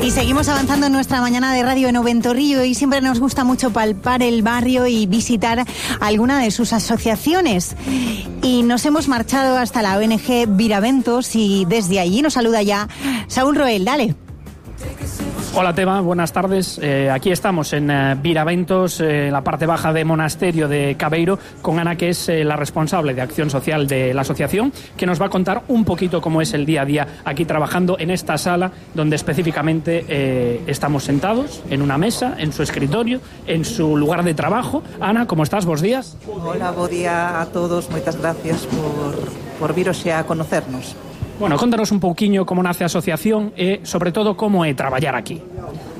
Y seguimos avanzando en nuestra mañana de radio en Oventorrillo y siempre nos gusta mucho palpar el barrio y visitar alguna de sus asociaciones. Y nos hemos marchado hasta la ONG Viraventos y desde allí nos saluda ya Saúl Roel. Dale. Hola Teba, buenas tardes. Aquí estamos en Viraventos, en la parte baja de Monasterio de Cabeiro, con Ana, que es la responsable de acción social de la asociación, que nos va a contar un poquito cómo es el día a día aquí trabajando en esta sala, donde específicamente estamos sentados en una mesa, en su escritorio, en su lugar de trabajo. Ana, ¿cómo estás? Bos días. Hola, bo día a todos. Moitas gracias por vir hoxe a conocernos. Bueno, contanos un pouquiño como nace a asociación e, sobre todo, como é traballar aquí.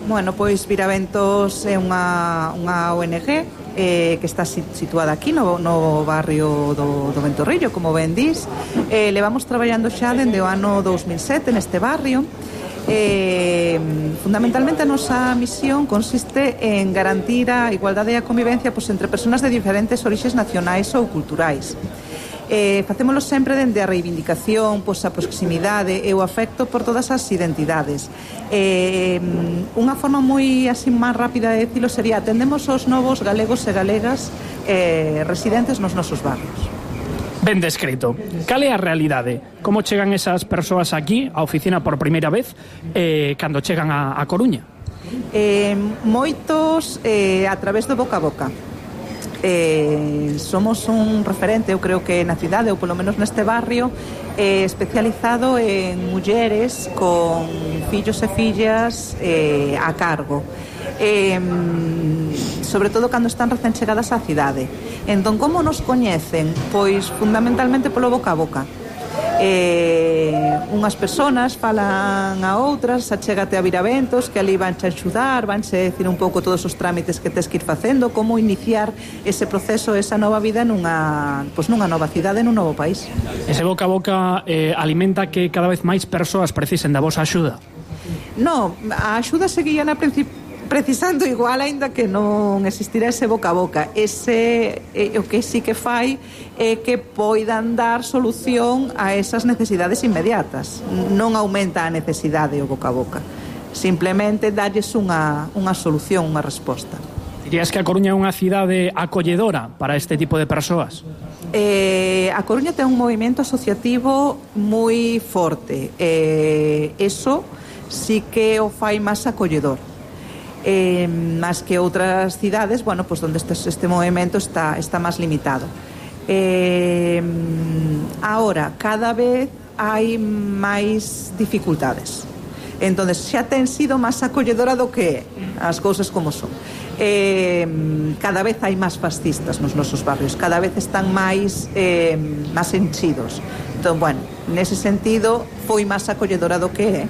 Bueno, pois Viraventos é unha ONG que está situada aquí no barrio do Ventorrillo, como ben dis. Levamos traballando xa dende o ano 2007 neste barrio. Fundamentalmente a nosa misión consiste en garantir a igualdade e a convivencia entre persoas de diferentes orixes nacionais ou culturais. Facémolo sempre dende a reivindicación, a proximidade e o afecto por todas as identidades. Unha forma moi así máis rápida de dicilo sería: atendemos aos novos galegos e galegas residentes nos nosos barrios. Ben descrito. Cal é a realidade? Como chegan esas persoas aquí, á oficina por primeira vez, cando chegan a Coruña? Moitos a través do boca a boca. Somos un referente, eu creo que na cidade, ou polo menos neste barrio, especializado en mulleres con fillos e fillas a cargo, sobre todo cando están recén chegadas á cidade. Entón, como nos coñecen? Pois fundamentalmente polo boca a boca. Unhas persoas falan a outras, achégate a Viraventos, que ali vanche a axudar, vanche decir un pouco todos os trámites que tes que ir facendo, como iniciar ese proceso, esa nova vida nunha nova cidade, nun novo país. Ese boca a boca alimenta que cada vez máis persoas precisen da vosa axuda? No, a axuda seguía na precisando igual, aínda que non existirá ese boca a boca. Ese o que sí que fai é que poidan dar solución a esas necesidades inmediatas. Non aumenta a necesidade o boca a boca, simplemente dalles unha solución, unha resposta. Dirías que a Coruña é unha cidade acolledora para este tipo de persoas? A Coruña ten un movimento asociativo moi forte. Eso sí que o fai máis acolledor. Más que outras cidades, bueno, pues donde este movimento está máis limitado. Ahora, cada vez hai máis dificultades. Entonces, xa ten sido máis acolledora do que as cousas como son. Cada vez hai máis fascistas nos nosos barrios, cada vez están máis enchidos. Entón, bueno, nese sentido foi máis acolledora do que é,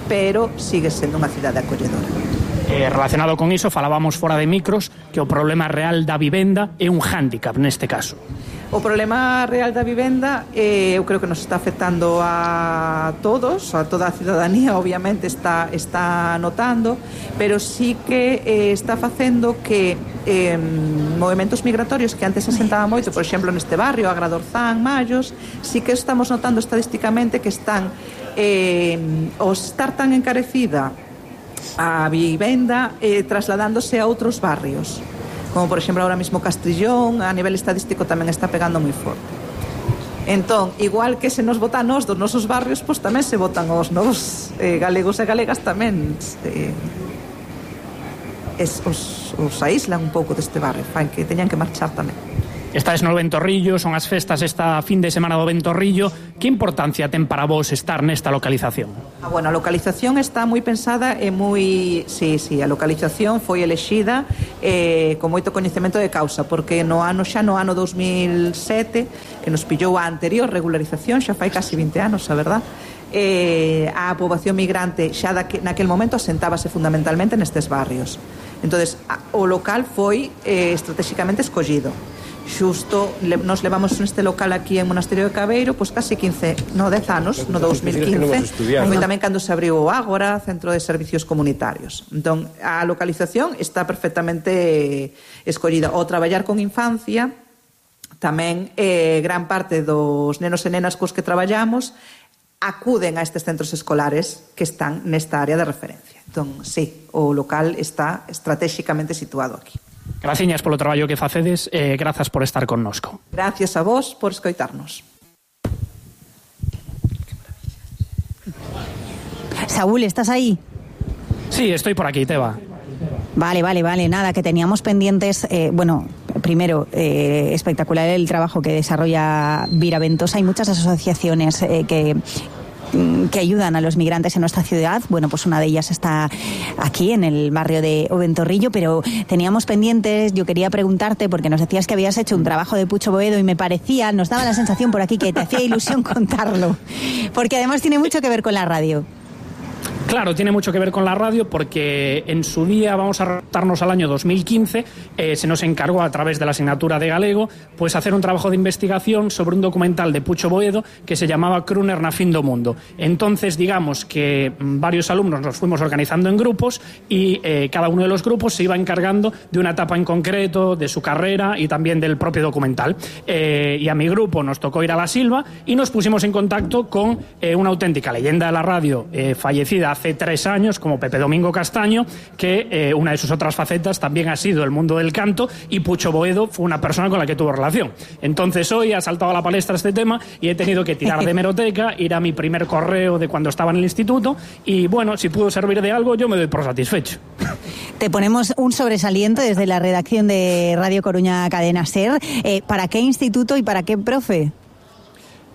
pero sigue sendo unha cidade acolledora. Relacionado con iso, falábamos fora de micros que o problema real da vivenda é un hándicap neste caso. O problema real da vivenda eu creo que nos está afectando a todos, a toda a cidadanía, obviamente está notando, pero sí que está facendo que movimentos migratorios que antes se asentaba moito, por exemplo neste barrio, Agradorzán, Mallos, sí que estamos notando estadísticamente que están ao estar tan encarecida a vivenda trasladándose a outros barrios, como por exemplo ahora mismo Castrillón, a nivel estadístico tamén está pegando moi forte. Entón, igual que se nos vota a nos dos nosos barrios, pois tamén se votan os novos galegos e galegas tamén os aíslan un pouco deste barrio, fan que teñan que marchar tamén. Estades no Ventorrillo, son as festas esta fin de semana do Ventorrillo. Que importancia ten para vos estar nesta localización? Bueno, a localización está moi pensada e moi... Sí, a localización foi elexida con moito coñecemento de causa, porque no ano 2007, que nos pillou a anterior regularización, xa fai casi 20 anos, a verdad, a poboación migrante xa naquel momento asentábase fundamentalmente nestes barrios. Entonces, o local foi estratégicamente escollido. Xusto, nos levamos neste local aquí en Monasterio de Cabeiro pois casi 10 anos, no 2015, foi tamén cando se abriu o Ágora, Centro de Servicios Comunitarios. Entón, a localización está perfectamente escollida. O traballar con infancia, tamén gran parte dos nenos e nenas cos que traballamos acuden a estes centros escolares que están nesta área de referencia. Entón, sí, o local está estratéxicamente situado aquí. Graciñas polo traballo que facedes e grazas por estar connosco. Gracias a vos por escoitarnos. Saúl, ¿estás ahí? Sí, estoy por aquí, Teba. Vale, nada, que teníamos pendientes, primero, espectacular el trabajo que desarrolla Viraventos. Hay muchas asociaciones que ayudan a los migrantes en nuestra ciudad. Bueno, pues una de ellas está aquí, en el barrio de Oventorrillo, pero teníamos pendientes, yo quería preguntarte, porque nos decías que habías hecho un trabajo de Pucho Boedo y me parecía, nos daba la sensación por aquí que te hacía ilusión contarlo, porque además tiene mucho que ver con la radio. Claro, tiene mucho que ver con la radio porque en su día, vamos a remontarnos al año 2015, se nos encargó a través de la asignatura de galego pues hacer un trabajo de investigación sobre un documental de Pucho Boedo que se llamaba Crooner na fin do mundo. Entonces, digamos que varios alumnos nos fuimos organizando en grupos y cada uno de los grupos se iba encargando de una etapa en concreto, de su carrera y también del propio documental. Y a mi grupo nos tocó ir a La Silva y nos pusimos en contacto con una auténtica leyenda de la radio fallecida hace 3 años, como Pepe Domingo Castaño, que una de sus otras facetas también ha sido el mundo del canto, y Pucho Boedo fue una persona con la que tuvo relación. Entonces hoy ha saltado a la palestra este tema y he tenido que tirar de hemeroteca, ir a mi primer correo de cuando estaba en el instituto y bueno, si pudo servir de algo yo me doy por satisfecho. Te ponemos un sobresaliente desde la redacción de Radio Coruña Cadena SER. ¿Para qué instituto y para qué profe?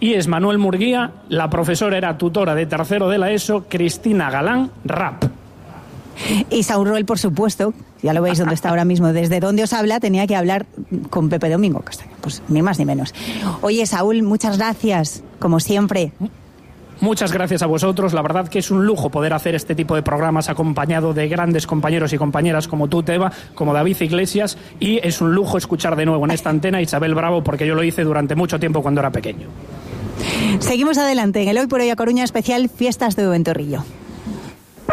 Y es Manuel Murguía, la profesora era tutora de tercero de la ESO, Cristina Galán, rap. Y Saúl Roel, por supuesto, ya lo veis donde está ahora mismo, desde donde os habla, tenía que hablar con Pepe Domingo Castaño, pues ni más ni menos. Oye, Saúl, muchas gracias, como siempre. Muchas gracias a vosotros, la verdad que es un lujo poder hacer este tipo de programas acompañado de grandes compañeros y compañeras como tú, Teba, como David Iglesias, y es un lujo escuchar de nuevo en esta antena a Isabel Bravo, porque yo lo hice durante mucho tiempo cuando era pequeño. Seguimos adelante en el Hoy por Hoy a Coruña especial Fiestas de Oventorrillo.